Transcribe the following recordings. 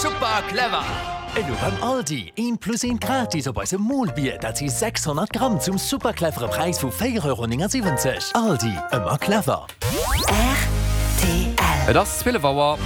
Super clever! Elo beim Aldi, eent plus eent gratis op eisem Molbier, dat si 600 Gramm zum super clevere Präis vu 4,79 Euro. Aldi, ëmmer clever! Rtl. Et ass 12 Auer.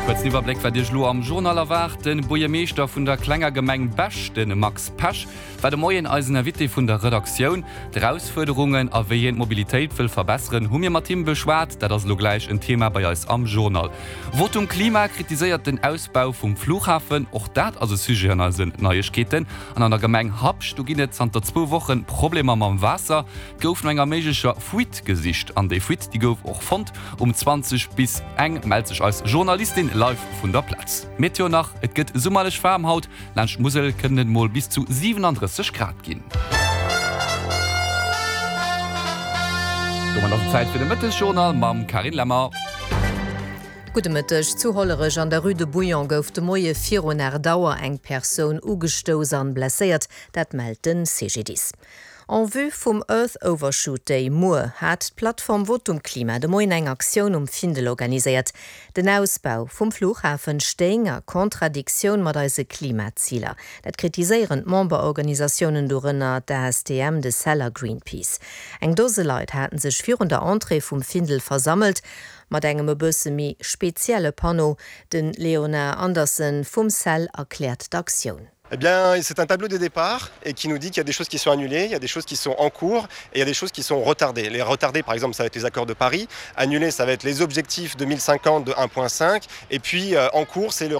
Kuerzen Iwwerbléck, wat Iech elo am Journal erwaart. De Buergermeeschter vun der klenger Gemeng Bech, de Max Pesch, war de Moien eisen Invité vun der Redaktioun. D'Erausfuerderungen a wéi hien d'Mobilitéit wëll verbesseren, hu mir mat him beschwat. Dat ass elo gläich en Thema bei eis am Journal. Votum Klima kritiséiert den Ausbau vum Flughafen. Och dat ass e Sujet an eisen Neiegkeeten. An an der Gemeng Habscht, do ginn et zanter zwou Woche Problemer mam Waasser. Et gouf no enger méiglecher Fuite gesicht an déi Fuite, déi gouf och fonnt. Um 20 bis eng mellt sech eis Journalistin live vun der Plaz. Meteo nach, Et gëtt summerlech waarm haut, laanscht d'Musel kënnen et mol bis zu 37 Grad ginn. Domat ass et Zäit fir de Mëttesjournal mam Carine Lemmer. Gudde Mëtteg. Zu Hollerech an der Rue de Bouillon gouf de Moie virun 8 Auer eng Persoun ugestouss an blesséiert, dat mellt de CGDIS. En vue vum Earth Overshoot Day muer hat d'Plattform Votum Klima de Moien eng Aktioun um Findel organiséiert. Den Ausbau vum Flughafen stéing a Kontradiktioun mat eise Klimaziler. Dat kritiséieren d'Memberorganisatiounen, dorënner d'ASTM, de cell a Greenpeace. Eng Dose Leit haten sech virun der Entrée vum Findel versammelt, mat engem e bësse méi spezielle Panneau. De Léonard Andersen vum cell erkläert d'Aktioun. Eh bien, c'est un tableau de départ et qui nous dit qu'il y a des choses qui sont annulées, il y a des choses qui sont en cours et il y a des choses qui sont retardées. Les retardées, par exemple, ça va être les accords de Paris. Annulées, ça va être les objectifs 2050 de 1.5 et puis euh, en cours, c'est le.